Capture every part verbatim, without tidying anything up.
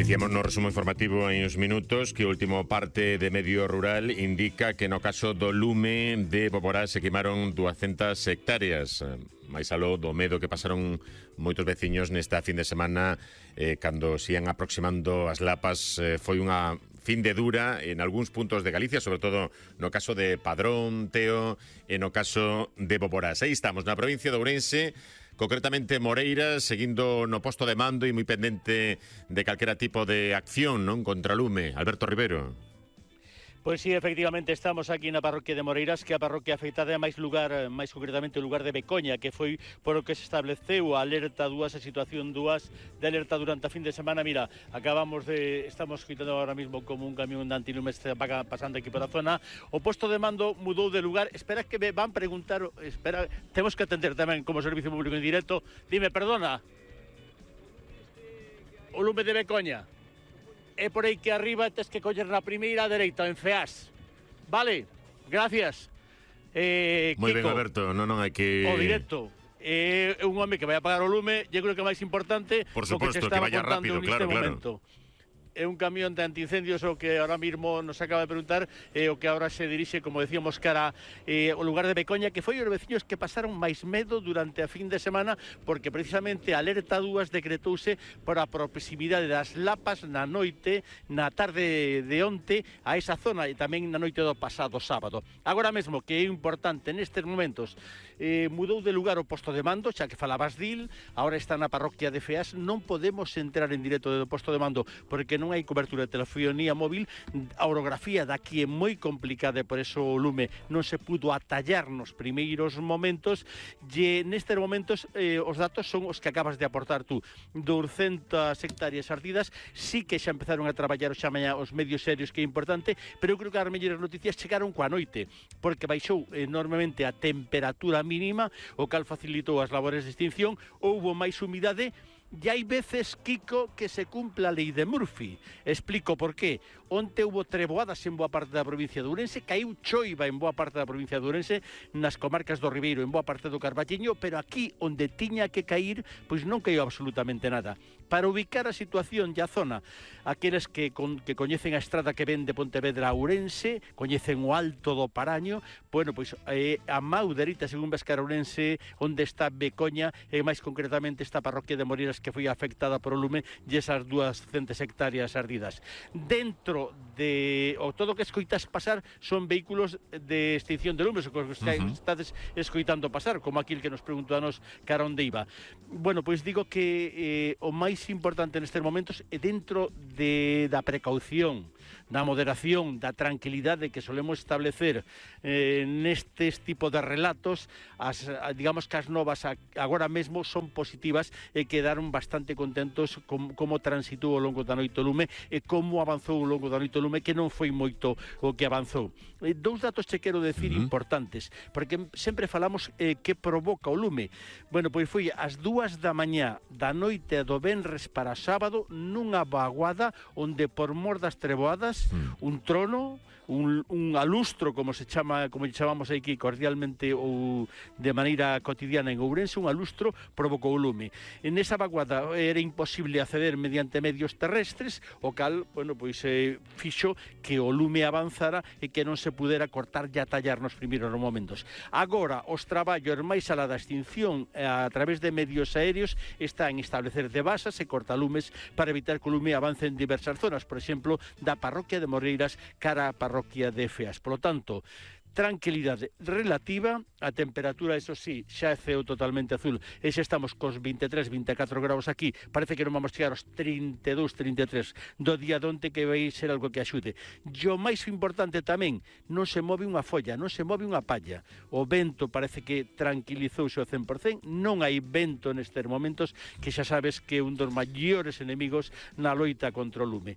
Dicíamos no resumo informativo hai uns minutos que o último parte de Medio Rural indica que no caso do lume de Boborá se queimaron duascentas hectáreas. Mais aló do medo que pasaron moitos veciños nesta fin de semana eh, cando se ian aproximando as lapas. Eh, foi unha fin de dura en algúns puntos de Galicia, sobre todo no caso de Padrón, Teo, e no caso de Boborás. Aí estamos, na provincia de Ourense, concretamente Moreira, seguindo no posto de mando e moi pendente de calquera tipo de acción, non, contra lume. Alberto Rivero. Pois sí, efectivamente, estamos aquí na parroquia de Moreiras, que é a parroquia afectada a máis lugar, máis concretamente o lugar de Becoña, que foi por o que se estableceu a alerta dúas, a situación dúas de alerta durante a fin de semana. Mira, acabamos de, estamos escoitando ahora mismo como un camión de antilumes pasando aquí por a zona. O posto de mando mudou de lugar. Espera que me van preguntar, espera, temos que atender tamén como servicio público en directo. Dime, perdona, o lume de Becoña. É por aí que arriba tes que coller na primeira dereita, en Feás. Vale, gracias. Eh, Moi ben, Kiko, Alberto, non, non hai que... O directo. É eh, un home que vai apagar o lume, eu creo que é máis importante por suposto, o que te que estaba vaya contando rápido, claro, neste claro. momento. É un camión de antiincendios o que ahora mismo nos acaba de preguntar, eh, o que ahora se dirixe, como decíamos, cara eh, o lugar de Becoña, que foi os veciños que pasaron máis medo durante a fin de semana, porque precisamente a alerta dúas decretouse por a proximidade das lapas na noite, na tarde de onte, a esa zona, e tamén na noite do pasado sábado. Agora mesmo, que é importante nestes momentos, eh, mudou de lugar o posto de mando, xa que falabas dil, agora está na parroquia de Feás. Non podemos entrar en directo do posto de mando, porque non hai cobertura de telefonía móvil. A orografía daqui é moi complicada e por eso o lume non se pudo atallar nos primeiros momentos, e nestes momentos eh, os datos son os que acabas de aportar tú. duascentas hectáreas ardidas, sí que xa empezaron a traballar xa mañá os medios serios, que é importante, pero eu creo que as mellores noticias chegaron coa noite, porque baixou enormemente a temperatura mínima, o cal facilitou as labores de extinción, houbo máis humidade. E hai veces, Kiko, que se cumple a lei de Murphy. Explico por qué. Onte houve treboadas en boa parte da provincia de Ourense, caiu choiva en boa parte da provincia de Ourense, nas comarcas do Ribeiro, en boa parte do Carballiño, pero aquí, onde tiña que cair, pois non caiu absolutamente nada. Para ubicar a situación e a zona, aqueles que, con, que coñecen a estrada que ven de Pontevedra a Ourense, coñecen o Alto do Paraño, bueno, pois eh, a mau dereita, según Vescar Ourense, onde está Becoña, e máis concretamente esta parroquia de Moreiras, que foi afectada por o lume, e esas duascentas hectáreas ardidas. Dentro de o todo que escoitas pasar son vehículos de extinción de lumes, o que uh-huh. estades escoitando pasar, como aquil que nos preguntou a nos cara onde iba. Bueno, pois digo que eh, o máis importante nestes momentos é dentro de, da precaución, da moderación, da tranquilidade que solemos establecer eh, nestes tipo de relatos. As, digamos que as novas agora mesmo son positivas e quedaron bastante contentos com, como transitou ao longo da noite o lume e como avanzou ao longo da noite o lume, que non foi moito o que avanzou. Eh, dous datos che quero decir uh-huh. importantes, porque sempre falamos eh, que provoca o lume. Bueno, pois foi ás dúas da mañá da noite do venres para sábado, nunha vaguada onde por mor das treboadas, uh-huh. un trono, un, un alustro, como se chama, como chamamos aquí cordialmente ou de maneira cotidiana en Ourense, un alustro provocou o lume. En esa vaguada era imposible acceder mediante medios terrestres, o cal, bueno, pois eh, fixo que o lume avanzara e que non se pudera cortar e atallar nos primeiros momentos. Agora, os traballos máis alá da extinción a través de medios aéreos están en establecer devasas e cortalumes para evitar que o lume avance en diversas zonas, por exemplo, da parroquia de Moreiras cara a parroquia de Feas. Por lo tanto, tranquilidade relativa, a temperatura, eso sí, xa é ceo totalmente azul, e xa estamos cos vinte e tres, vinte e catro graus aquí, parece que non vamos chegar aos trinta e dous, trinta e tres do día de onte, que vai ser algo que axude. E o máis importante tamén, non se move unha folla, non se move unha palla, o vento parece que tranquilizouse ao cen por cen, non hai vento nestes momentos, que xa sabes que é un dos maiores enemigos na loita contra o lume.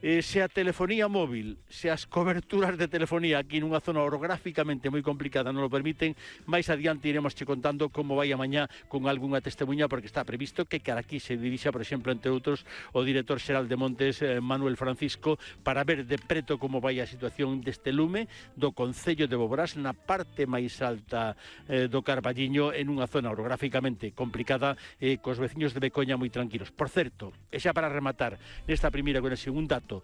Eh, se a telefonía móvil, se as coberturas de telefonía aquí nunha zona orográfica orográficamente moi complicada, non lo permiten. Máis adiante iremos che contando como vai a mañá con algunha testemunha, porque está previsto que cara aquí se dirixa, por exemplo, entre outros, o director xeral de Montes, eh, Manuel Francisco, para ver de preto como vai a situación deste lume do concello de Boborás na parte máis alta eh, do Carballiño, en unha zona orográficamente complicada, eh, cos veciños de Becoña moi tranquilos. Por certo, e xa para rematar nesta primeira conexión, un dato: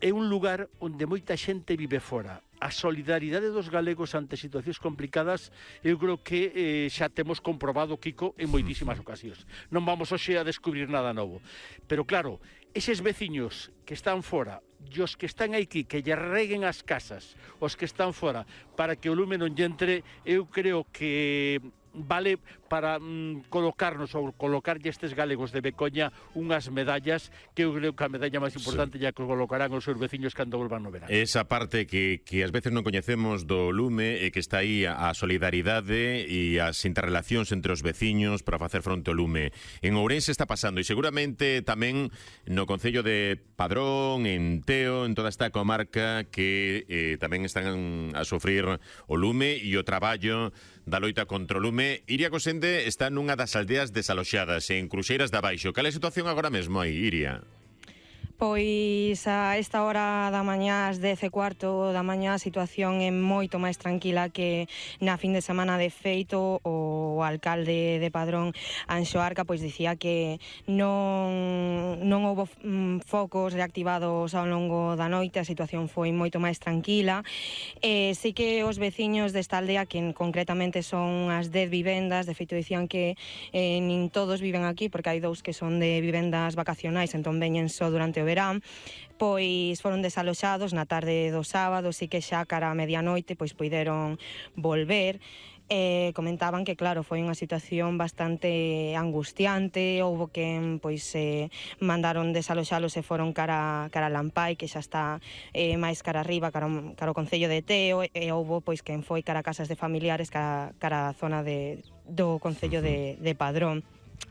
é un lugar onde moita xente vive fora. A solidaridade dos galegos ante situacións complicadas, eu creo que eh, xa temos comprobado, Kiko, en moitísimas ocasións. Non vamos hoxe a descubrir nada novo. Pero claro, eses veciños que están fora, e os que están aquí, que lle reguen as casas, os que están fora, para que o lume non lle entre, eu creo que vale para mm, colocarnos ou colocarlle estes galegos de Becoña unhas medallas, que eu creo que a medalla máis importante sí. ya que colocarán os seus veciños cando volvan no verano. Esa parte que, que ás veces non coñecemos do lume e que está aí a solidaridade e as interrelacións entre os veciños para facer fronte ao lume. En Ourense está pasando, e seguramente tamén no concello de Padrón, en Teo, en toda esta comarca que eh, tamén están a sofrir o lume e o traballo da loita contra o lume. Iria Cosende está nunha das aldeas desaloxadas en Cruxeiras de Abaixo. Cal é a situación agora mesmo aí, Iria? Pois a esta hora da mañá, ás dez e cuarto da mañá, a situación é moito máis tranquila que na fin de semana. De feito, o alcalde de Padrón, Anxo Arca, pois dicía que non, non houbo mm, focos reactivados ao longo da noite, a situación foi moito máis tranquila. E sí que os veciños desta aldea, que concretamente son as dez vivendas, de feito dicían que eh, nin todos viven aquí, porque hai dous que son de vivendas vacacionais, entón veñen só durante o verán, pois foron desaloxados na tarde do sábado, sí que xa cara a medianoite pois poideron volver. Eh, comentaban que, claro, foi unha situación bastante angustiante, houbo que pois eh, mandaron desaloxalos e foron cara, cara a Lampai, que xa está eh, máis cara arriba, cara, cara o concello de Teo, e houbo pois quen foi cara a casas de familiares, cara, cara a zona de, do concello de, de Padrón.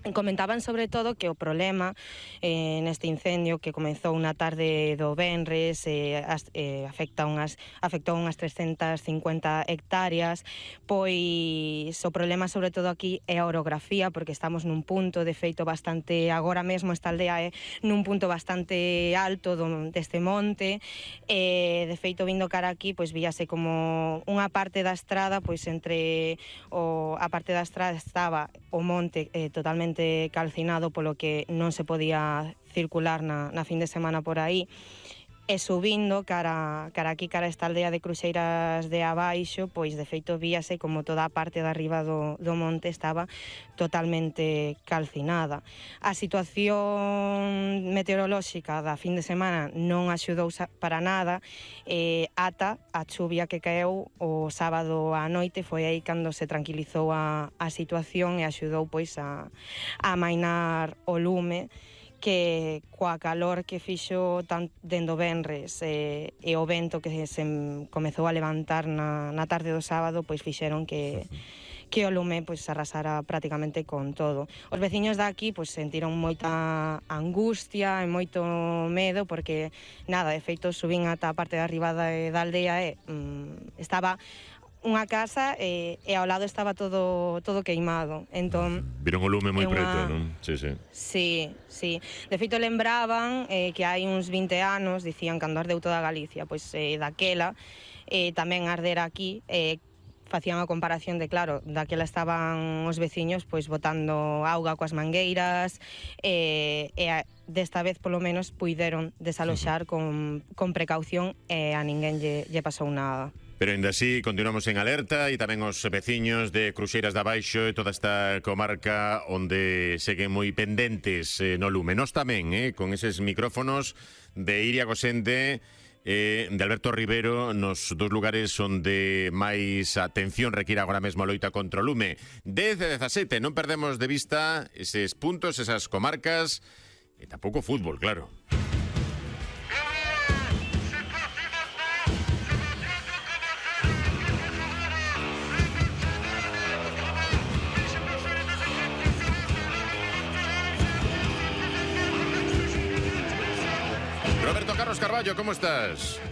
Comentaban sobre todo que o problema eh, neste incendio que comezou na tarde do venres eh, as, eh, afecta unhas, afectou unhas trescentas cincuenta hectáreas, pois o problema sobre todo aquí é a orografía, porque estamos nun punto de feito bastante, agora mesmo esta aldea é nun punto bastante alto do, deste monte, e de feito vindo cara aquí pois víase como unha parte da estrada, pois entre o, a parte da estrada estaba o monte eh, totalmente calcinado, polo que non se podía circular na, na fin de semana por aí, e subindo cara, cara aquí, cara esta aldea de Cruxeiras de Abaixo, pois de feito víase como toda a parte de arriba do, do monte estaba totalmente calcinada. A situación meteorolóxica da fin de semana non axudou para nada, eh, ata a chuvia que caeu o sábado á noite, foi aí cando se tranquilizou a, a situación e axudou pois a, a amainar o lume, que coa calor que fixo tan dendo venres e, e o vento que se comezou a levantar na, na tarde do sábado, pois fixeron que que o lume pois arrasara prácticamente con todo. Os veciños daqui pois sentiron moita angustia e moito medo, porque nada, de feito subín ata a parte de arriba da, da aldea e mm, estaba unha casa e, e ao lado estaba todo todo queimado. Entón, viron o lume moi unha... preto, non? Sí, sí. Sí, sí. De feito lembraban eh, que hai uns vinte anos, dicían, cando ardeu toda Galicia, pois eh, daquela eh, tamén ardera aquí, eh, facían a comparación de, claro, daquela estaban os veciños pois botando auga coas mangueiras, e, e a, desta vez polo menos puideron desaloxar con, con precaución e a ninguén lle, lle pasou nada. Pero ainda así continuamos en alerta, e tamén os veciños de Cruxeiras de Abaixo e toda esta comarca onde seguen moi pendentes eh, no lume. Nos tamén, eh, con eses micrófonos de Iria Cosende e de Alberto Rivero, nos dous lugares onde máis atención require agora mesmo a loita contra o lume. dez e dezasete, non perdemos de vista eses puntos, esas comarcas, e tampouco fútbol, claro. Roberto Carlos Carballo, ¿cómo estás?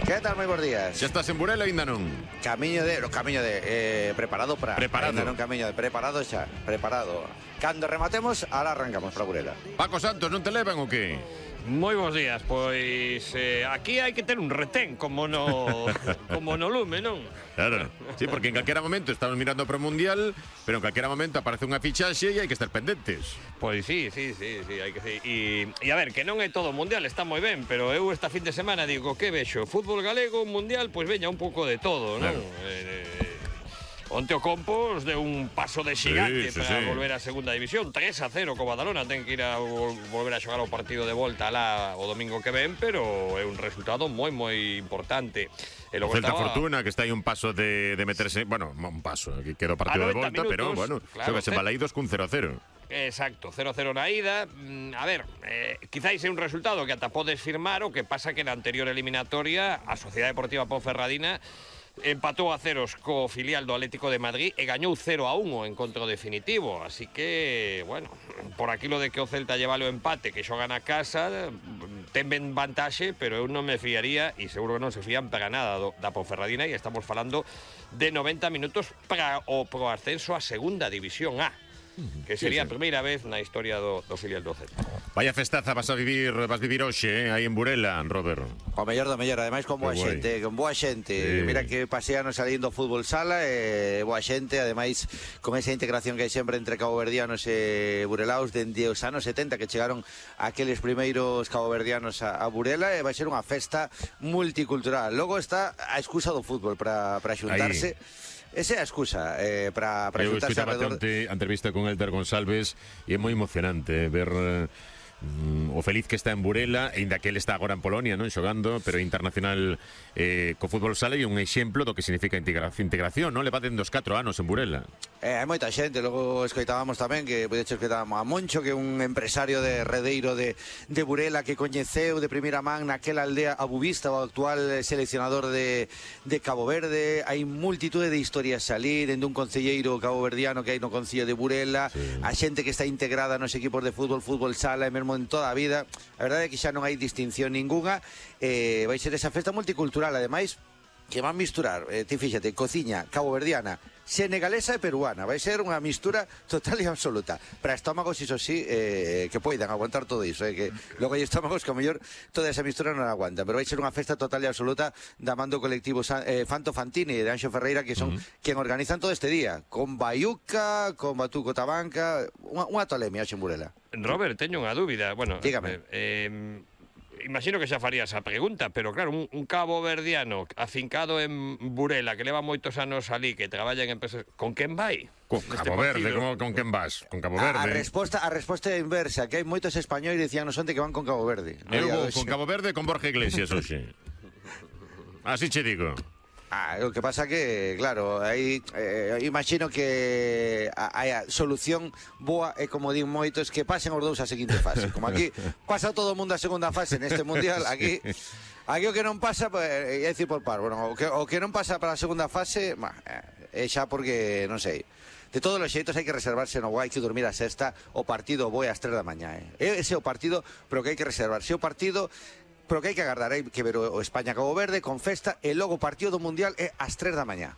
Que tal, moi bons días. Xa estás en Burela, ainda non? Camiño de, no, camiño de, eh, preparado para. Preparado. Ainda non camiño de, preparado xa, preparado. Cando rematemos, ahora arrancamos para Burela. Paco Santos, non te levan o que? Moi bons días, pois eh, aquí hai que ter un retén como no como no lume, non? Claro, sí, porque en calquera momento estamos mirando para o Mundial, pero en calquera momento aparece unha fichaxe e hai que estar pendentes. Pois sí, sí, sí, sí, hai que sí. E, e a ver, que non é todo mundial, está moi ben, pero eu esta fin de semana digo, que vexo? Fútbol galego, mundial, pois veña un pouco de todo, non? Claro. Eh, Onte o Compos deu un paso de xigante Sí, sí, para sí. volver a segunda división, tres a cero co Badalona, ten que ir a vol- volver a xogar o partido de volta lá o domingo que ven, pero é un resultado moi moi importante. E O logo Celta estaba- Fortuna, que está aí un paso de, de meterse... Bueno, un paso, aquí quedó partido A de noventa volta, pero, minutos, bueno, claro, xogas en ce- Balaídos cun cero a cero. Exacto, cero cero na ida. Mm, A ver, eh, quizáis é un resultado que ata podes firmar, o que pasa que na anterior eliminatoria a Sociedade Deportiva Ponferradina empatou a ceros co filial do Atlético de Madrid e gañou cero a uno o encontro definitivo. Así que, bueno, por aquilo de que o Celta lleva o empate, que xoga na casa, ten ben vantaxe, pero eu non me fiaría, e seguro que non se fían para nada do, da Ponferradina, e estamos falando de noventa minutos para o pro ascenso a segunda división A, que sería a primeira vez na historia do, do filial do Celta. Vaya festaza vas a vivir, vas vivir hoxe, eh, aí en Burela, Robert. O mellor do mellor, ademais con boa Que guai. xente, con boa xente. Sí. Mira que paseanos salindo fútbol sala e boa xente, ademais con esa integración que hai sempre entre caboverdianos e burelaos dende os anos setenta que chegaron aqueles primeiros caboverdianos a, a Burela, e vai ser unha festa multicultural. Logo está a excusa do fútbol para para xuntarse. Esa é a excusa eh, para para Eu xuntarse escuitaba alrededor. a entrevista con Elder González e é moi emocionante eh, ver eh, mm, o feliz que está en Burela, ainda que ele está agora en Polonia, non xogando, pero internacional eh, co fútbol sala, e un exemplo do que significa integración, integración, non? Leva dende os catro anos en Burela. Eh, hai moita xente, logo escoitábamos tamén que de hecho escoitábamos a Moncho, que é un empresario de Redeiro de, de Burela que coñeceu de primeira man naquela aldea abubista, o actual seleccionador de, de Cabo Verde. Hai multitude de historias ali, dende un concelleiro caboverdiano que hai no concello de Burela, sí. A xente que está integrada nos equipos de fútbol, fútbol sala e mesmo en toda a vida. A verdade é que xa non hai distinción ninguna. eh, vai ser esa festa multicultural, ademais que van misturar, eh, ti fíxate, cociña caboverdiana, senegalesa e peruana. Vai ser unha mistura total e absoluta. Para estómagos, iso sí, eh, que poidan aguantar todo iso, eh, que logo hai estómagos que a mellor toda esa mistura non aguanta, pero vai ser unha festa total e absoluta da man do colectivo San, eh, Fanto Fantini e de Anxo Ferreira, que son uh -huh. quen organizan todo este día, con Baiuca, con Batuco Tabanca, unha, unha tolemia en Burela. Robert, teño unha dúbida. Bueno, dígame. Eh, eh, imagino que xa farías a pregunta, pero claro, un, un cabo verdiano afincado en Burela, que leva moitos anos ali, que traballa en empresas, con quen vai? Con Cabo Verde, como, con quen vas? Con Cabo Verde. A, a resposta a resposta é inversa, que hai moitos españois dicían no sonte que van con Cabo Verde. No Eu vou con Cabo Verde e con Borja Iglesias hoxe. Así che digo. Ah, o que pasa que, claro, aí eh, imagino que a, a solución boa é, como din moitos, que pasen os dous a seguinte fase. Como aquí pasa todo o mundo a segunda fase neste mundial, aquí aquí o que non pasa, pues, é dicir por par, bueno, o que, o que non pasa para a segunda fase, bah, é xa porque, non sei. De todos os xeitos hai que reservarse no guai, que dormir a sexta, o partido boe ás tres da mañá, eh. Ese é o partido, pero que hai que reservarse o partido, pero que hai que agardar, hai que ver o España-Cabo Verde con festa, e logo o partido do Mundial é ás tres da mañá.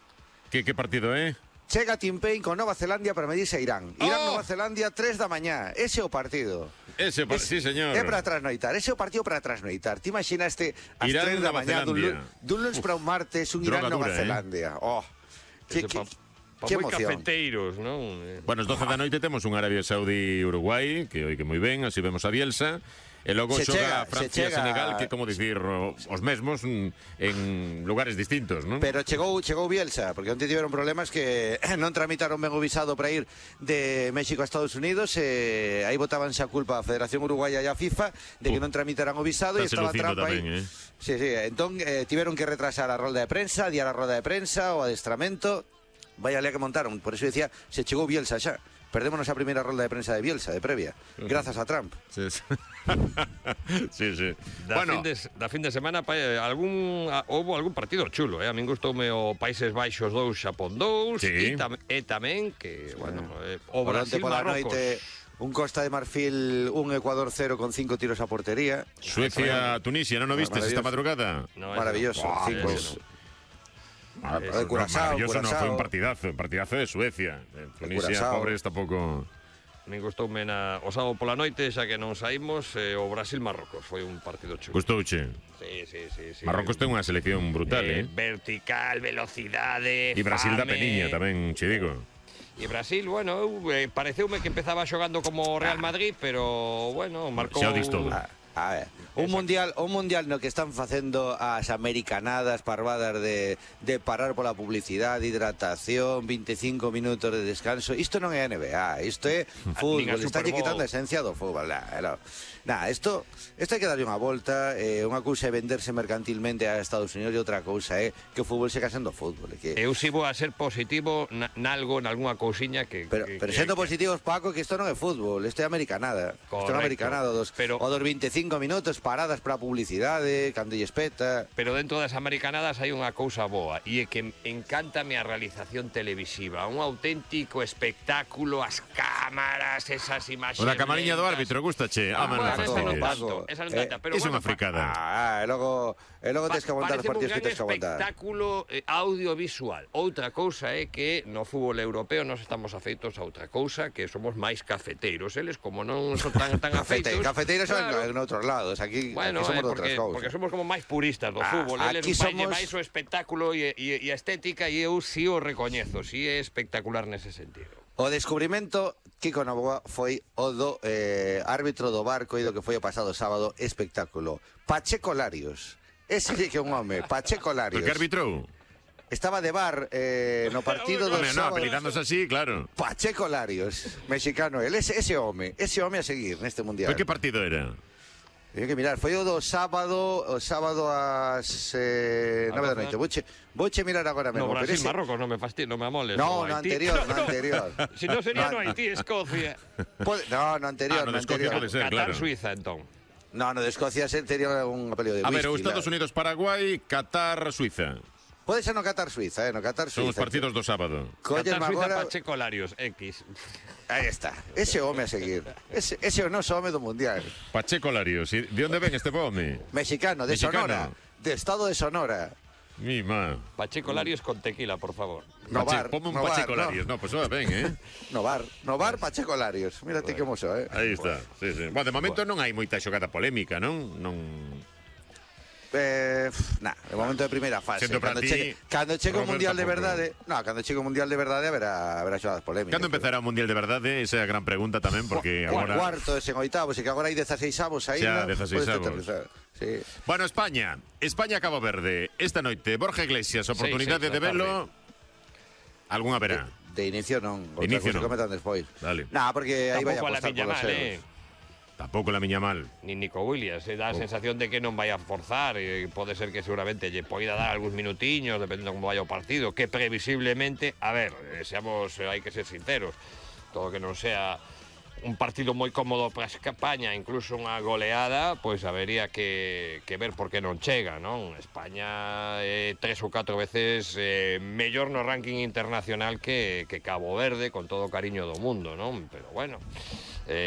Que, que partido é? Eh? Chega Tim Payne con Nova Zelandia para medirse a Irán. Irán-Nova Oh! Zelandia, tres da mañá. Ese é o partido. Ese, es, sí, señor. É para trasnoitar, ese é o partido para trasnoitar. Ti imaginaste ás Irán, tres da Nova mañá dun, Zelandia. dun lunes para un martes, un Droga Irán-Nova dura, eh? Zelandia. Oh, que, que, Pa, pa que moi emoción. cafeteiros, non? Bueno, os doce da noite temos un Arabia Saudí-Uruguai, que oike moi ben, así vemos a Bielsa. E logo Se xoga chega, Francia se e chega... Senegal, que como dicir os mesmos en lugares distintos, non? Pero chegou chegou Bielsa, porque onte tiveron problemas que non tramitaron ben o visado para ir de México a Estados Unidos, e aí botábanse a culpa a Federación Uruguaya e a FIFA de que non tramitaran o visado, e estaba Trump aí. Tamén, eh? Sí, sí, entón eh, tiveron que retrasar a rolda de prensa, diar a rolda de prensa, o adestramento. Vaya lea que montaron, por eso decía, se chegou Bielsa xa. Perdémonos a primeira rolda de prensa de Bielsa, de previa, grazas a Trump. Sí, sí. sí, sí. Da, Bueno, fin de, da fin de semana pa, algún, a, houve algún partido chulo, eh? A min gustoume o Países Baixos dous, Xapón dous, Sí. e, tam, e tamén que, bueno, eh, o Por onte Brasil pola Marrocos. noite un Costa de Marfil, un Ecuador cero con cinco tiros a portería. Suecia-Tunisia, ¿no lo viste esta madrugada? No, Maravilloso. no. cinco. Eso no. Ah, de Curazao, maravilloso no, Curazao. fue un partidazo, un partidazo de Suecia. Eh, Tunisia, Curazao. pobres, tampouco... Me gustoume na, o sábado pola noite, xa que non saímos, eh, o Brasil-Marrocos. Foi un partido chulo. Gustouche. Sí, sí, sí, sí. Marrocos ten unha selección brutal, eh? eh, Vertical, velocidade, E Brasil da fame. peniña tamén, che digo. E Brasil, bueno, eu, eh, pareceume que empezaba xogando como Real Madrid, pero, bueno, marcou... Xa o dis todo. A, a ver, un mundial, un mundial no que están facendo as americanadas parvadas de, de parar pola publicidade, hidratación, veinticinco minutos de descanso. Isto non é N B A, isto é fútbol, Nin a está Super Bowl. quitando a esencia do fútbol. Nah, no. Nah, isto, isto hai que darlle unha volta, eh, unha cousa é venderse mercantilmente a Estados Unidos e outra cousa é que o fútbol seca sendo fútbol. Que... Eu si vou a ser positivo na- nalgo, nalgúna cousiña que... Pero, que, pero que, sendo que- positivos, Paco, que isto non é fútbol, isto é americanada. Isto é Correcto. unha americanada dos, Pero- o dos veinticinco minutos paradas para a publicidade, cando lle espeta. Pero dentro das americanadas hai unha cousa boa e é que encántame a realización televisiva, un auténtico espectáculo, as cámaras, esas imaxes. O da camariña do lentas. árbitro, gustache? Ah, Ah, bueno, man, esa non fastidies. tanto, esa non tanta, pero Es bueno, unha fricada. Ah, e logo, e logo tens que aguantar os Pareceme partidos un que tens que gran aguantar. espectáculo eh, audiovisual. Outra cousa é que no fútbol europeo nos estamos afeitos a outra cousa, que somos máis cafeteiros. Eles, como non son tan, tan Cafete, afeitos... cafeteiros son claro. en outros lados, aquí, Bueno, aquí somos eh, de outras porque, cousas. porque somos como máis puristas do Ah, fútbol. Eles aquí vai somos- máis o espectáculo e, e, e a estética e eu si o recoñezo, si é espectacular nese sentido. O descubrimento, Kiko Novoa foi o do eh, árbitro do Barco e do que foi o pasado sábado, espectáculo. Pacheco Larios. Ese sí que é un home, Pacheco Pero Larios. que arbitrou? Estaba de bar eh, no partido do Home, no, sábado. apelidándose así, claro. Pacheco Larios, mexicano el, ese, ese home, ese home a seguir neste mundial. Pero que partido era? Teño que mirar, foi o do sábado, o sábado ás eh, nove da noite. Vouche, vouche mirar agora mesmo. No pero Brasil, ese- Marrocos, non me fastidio, non me amoles. No, o no Haití. anterior, no anterior. Si non sería No, no Haití, Escocia. Pode- no, no anterior, Ah, no no de Escocia anterior. pode ser, Qatar, claro. Suiza, entón. No, no de Escocia sería un apelio de A ver, o whisky, Estados la- Unidos, Paraguai, Qatar, Suiza. Pode ser no Qatar Suiza, eh, no Qatar Son os Suiza. partidos do sábado. Colles Qatar, Suiza, agora... Pacheco Larios, X. Aí está, ese home a seguir. Ese, ese é o noso home do mundial. Pacheco Larios. E de onde ven este home? Mexicano, de Mexicano. Sonora. De estado de Sonora. Mi má. Pacheco Larios con tequila, por favor. No Pache- bar, Ponme un no bar, Pacheco no. Larios. No, pues va ben, eh? No bar, no bar Pacheco Larios. Mírate que mozo, eh. Aí está. Sí, sí. Bueno, de momento non hai moita xogada polémica, non? Non... Eh, nah, de momento de primeira fase. Sendo para Cando ti, chegue, cando chegue o Robert, mundial de tampouco. verdade, no, cando chegue o mundial de verdade haberá haberá xogadas polémicas. Cando empezará o Mundial de verdade? Esa é a gran pregunta tamén, porque Cu- agora... cuartos en oitavos e que agora hai dezasseisavos aí. Xa, ¿no? dezasseisavos. Podes aterrizar. Sí. Bueno, España. España Cabo Verde. Esta noite, Borja Iglesias, oportunidade seis de da velo. Algún haberá. De inicio non, De outra inicio cousa non. que metan despois. Vale. Nah, porque aí vai a Tampouco a la apostar por Miña los mal, eh. euros. Tampouco la miña mal. Ni Nico Williams, eh, dá a sensación de que non vai a forzar, e pode ser que seguramente lle poida dar algúns minutiños, dependendo como vaya o partido, que previsiblemente, a ver, eh, seamos, eh, hai que ser sinceros, todo que non sea un partido moi cómodo para España, incluso unha goleada, pois habería que, que ver por que non chega, non? España é eh, tres ou catro veces eh, mellor no ranking internacional que, que Cabo Verde, con todo o cariño do mundo, non? Pero bueno,